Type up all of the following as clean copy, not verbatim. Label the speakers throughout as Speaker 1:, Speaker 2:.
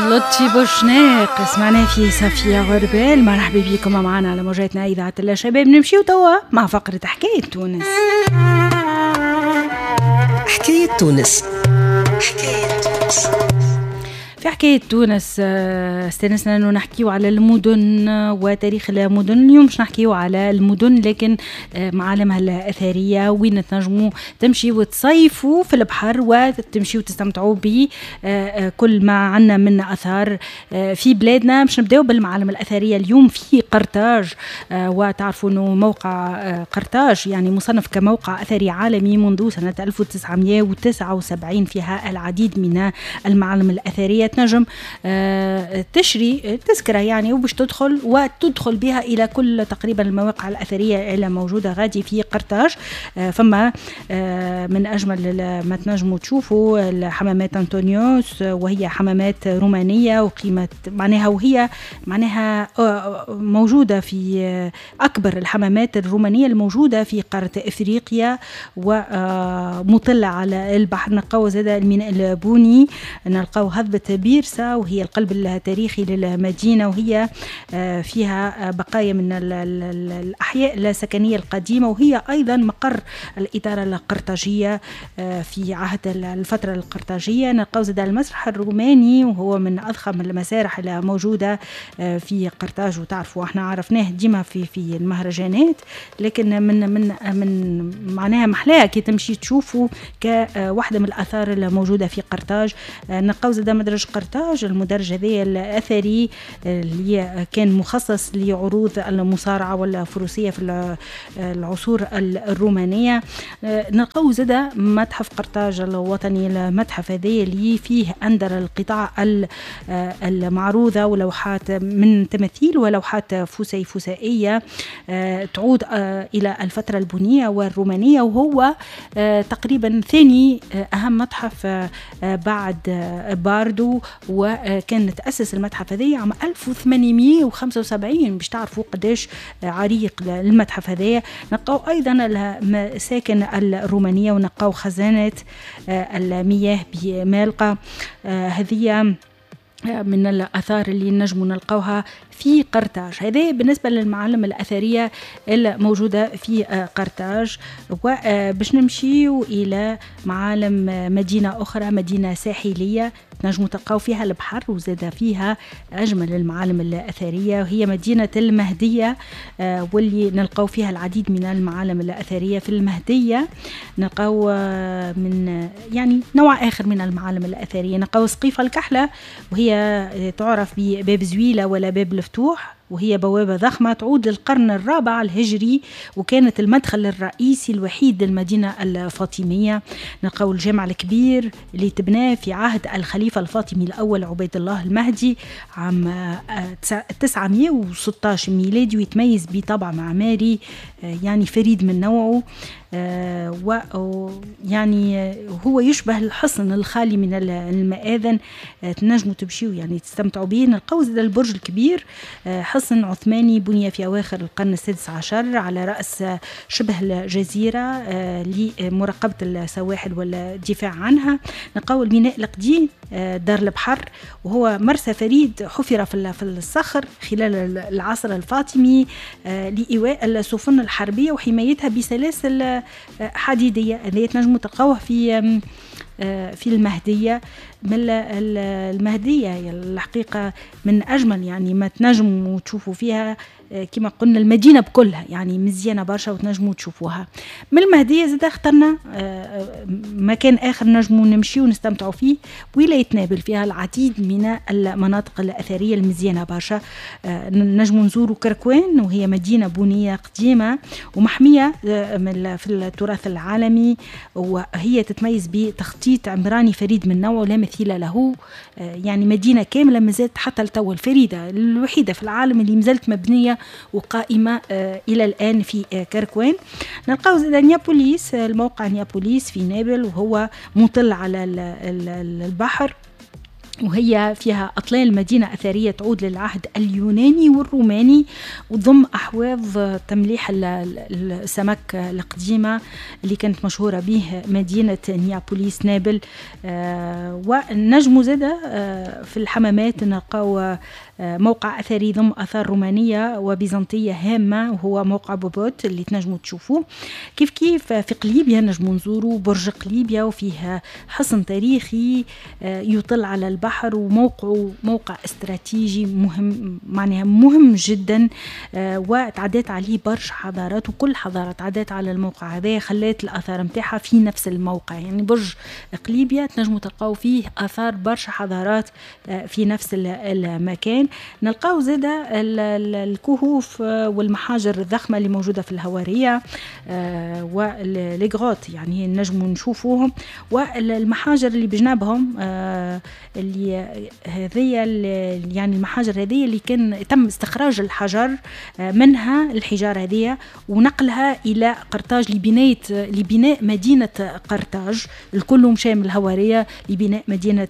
Speaker 1: لطفي بوشناق سمعنا في صفية غربال. مرحبا بكم معنا على موجاتنا إذاعة الشباب. نمشيو توا مع فقرة حكاية تونس.
Speaker 2: حكاية تونس. حكاية تونس.
Speaker 1: في حكاية تونس استانسنا انه نحكيو على المدن وتاريخ المدن. اليوم باش نحكيو على المدن لكن معالمها الأثرية، وين تنجموا تمشي وتصيفوا في البحر وتمشيو وتستمتعوا بكل ما عنا من أثار في بلادنا. باش نبداو بالمعالم الأثرية اليوم في قرطاج، وتعرفوا انه موقع قرطاج يعني مصنف كموقع أثري عالمي منذ سنة 1979، فيها العديد من المعالم الأثرية. تنجم تشري تذكرة يعني وباش تدخل وتدخل بها إلى كل تقريبا المواقع الأثرية اللي موجودة غادي في قرطاج. فما من أجمل ما تنجموا تشوفوا حمامات أنطونيوس، وهي حمامات رومانية وقيمة معناها، وهي معناها موجودة في أكبر الحمامات الرومانية الموجودة في قارة إفريقيا ومطلة على البحر. نلقاو زاد الميناء البوني، نلقاو هضبة بيرسا وهي القلب التاريخي للمدينة، وهي فيها بقايا من الأحياء السكنية القديمة، وهي أيضا مقر الإدارة القرطاجية في عهد الفترة القرطاجية. نلقاو زاد المسرح الروماني وهو من أضخم المسارح الموجودة في قرطاج، وتعرفوا احنا عرفناه ديما في المهرجانات، لكن من من من معناها محلاها كي تمشي تشوفوا كواحدة من الآثار الموجودة في قرطاج. نلقاو زاد مدرج قرطاج، المدرج هذا الأثري اللي كان مخصص لعروض المصارعة والفروسية في العصور الرومانية. نلقاو زاد متحف قرطاج الوطني، المتحف هذا اللي فيه أندر القطع المعروضة ولوحات من تماثيل ولوحات فسيفسائية تعود إلى الفترة البونية والرومانية، وهو تقريبا ثاني أهم متحف بعد باردو، وكان تأسس المتحف هذا عام 1875 باش تعرفوا قداش عريق المتحف هذا. نلقاو أيضا المساكن الرومانية ونلقاو خزانة المياه بمالقة. هذه من الآثار اللي نجموا نلقاوها في قرطاج. هذا بالنسبة للمعالم الأثرية الموجودة في قرطاج. وباش نمشيو إلى معالم مدينة أخرى، مدينة ساحلية تنجموا تلقاو فيها البحر وزاد فيها أجمل المعالم الأثرية، وهي مدينة المهدية، واللي نلقاو فيها العديد من المعالم الأثرية. في المهدية نلقاو من يعني نوع آخر من المعالم الأثرية، نلقاو سقيفة الكحلة وهي تعرف بباب زويلة ولا باب الفتوح، وهي بوابة ضخمة تعود للقرن الرابع الهجري، وكانت المدخل الرئيسي الوحيد للمدينة الفاطمية. نلقاو الجامع الكبير اللي تبناه في عهد الخليفة الفاطمي الأول عبيد الله المهدي عام 916 ميلادي، ويتميز بطابع معماري يعني فريد من نوعه، ويعني هو يشبه الحصن الخالي من المآذن. تنجموا تمشيوا يعني تستمتعوا به. نلقاو زاد البرج الكبير، حصن عثماني بني في أواخر القرن السادس عشر على رأس شبه الجزيرة لمراقبة السواحل والدفاع عنها. نلقاو الميناء القديم دار البحر، وهو مرسى فريد حفر في الصخر خلال العصر الفاطمي لإيواء السفن الحربية وحمايتها بسلاسل حديدية. هذه تنجموا تلقاوه في المهدية. من المهدية الحقيقة من أجمل يعني ما تنجموا تشوفوا فيها، كما قلنا المدينة بكلها يعني مزيانة برشا وتنجموا تشوفوها. من المهدية زاد اخترنا مكان آخر نجموا نمشي ونستمتعوا فيه، ولاية نابل فيها العديد من المناطق الأثرية المزيانة برشا. نجموا نزوروا كركوان، وهي مدينة بنية قديمة ومحمية في التراث العالمي، وهي تتميز بتخطيط عمراني فريد من نوعه لا مثيل له. يعني مدينة كاملة مازالت حتى لتو الفريدة الوحيدة في العالم اللي مازالت مبنية وقائمة إلى الآن في كركوان. نلقاو زاد نيابوليس، الموقع نيابوليس في نابل، وهو مطل على البحر. وهي فيها أطلال مدينة أثرية تعود للعهد اليوناني والروماني، وتضم أحواض تمليح السمك القديمة اللي كانت مشهورة به مدينة نيابوليس نابل. ونجمو زادة في الحمامات نلقاو موقع أثري يضم آثار رومانية وبيزنطية هامة، وهو موقع بوبوت اللي تنجموا تشوفوه. كيف كيف في قليبيا نجموا نزوروا برج قليبيا، وفيه حصن تاريخي يطل على البحر، وموقعه موقع استراتيجي مهم، معناها مهم جدا، وتعدات عليه برشا حضارات، وكل حضارة تعدات على الموقع هذا خلات الآثار متاعها في نفس الموقع. يعني برج قليبيا تنجموا تلقاو فيه آثار برشا حضارات في نفس المكان. نلقاو زادة الكهوف والمحاجر الضخمة اللي موجودة في الهوارية و les grottes، يعني نجموا نشوفوهم، والمحاجر اللي بجنابهم اللي هذيا يعني المحاجر هذه اللي كان تم استخراج الحجر منها، الحجارة هذه، ونقلها إلى قرطاج لبناء مدينة قرطاج. الكل مشى من الهوارية لبناء مدينة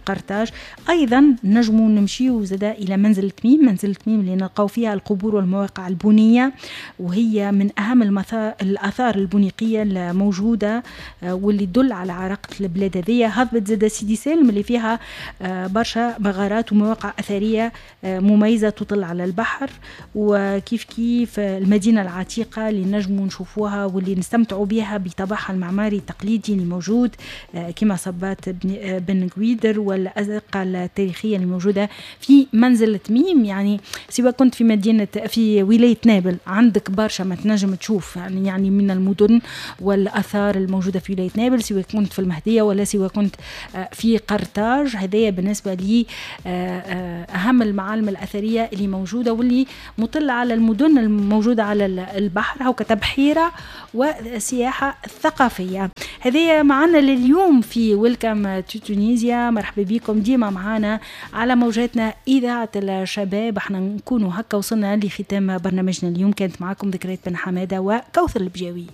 Speaker 1: قرطاج. أيضا نجموا نمشيو زادا إلى منزل تميم، منزل تميم اللي نلقاو فيها القبور والمواقع البنية، وهي من أهم الآثار البنيقية الموجودة واللي تدل على عراقة البلاد هذية. هضبة زادا سيدي سالم اللي فيها برشا مغارات ومواقع أثرية مميزة تطل على البحر. وكيف كيف المدينة العتيقة اللي نجموا نشوفوها واللي نستمتعوا بها بطابعها المعماري التقليدي اللي موجود كما صبات بن قويدر والأزقة التاريخية اللي موجودة في منزل تميم. يعني سواء كنت في مدينة في ولاية نابل عندك برشا ما تنجم تشوف يعني من المدن والآثار الموجودة في ولاية نابل، سواء كنت في المهدية ولا سواء كنت في قرطاج. هذايا بالنسبة لي أهم المعالم الأثرية اللي موجودة واللي مطلة على المدن الموجودة على البحر، هو كتبحيرة وسياحة ثقافية. هذه معنا لليوم في Welcome to Tunisia. مرحبا بكم ديما معنا على موجاتنا إذاعة الشباب. احنا نكونوا هكا وصلنا لختام برنامجنا اليوم. كانت معكم ذكريات بن حمادة وكوثر البجاوي.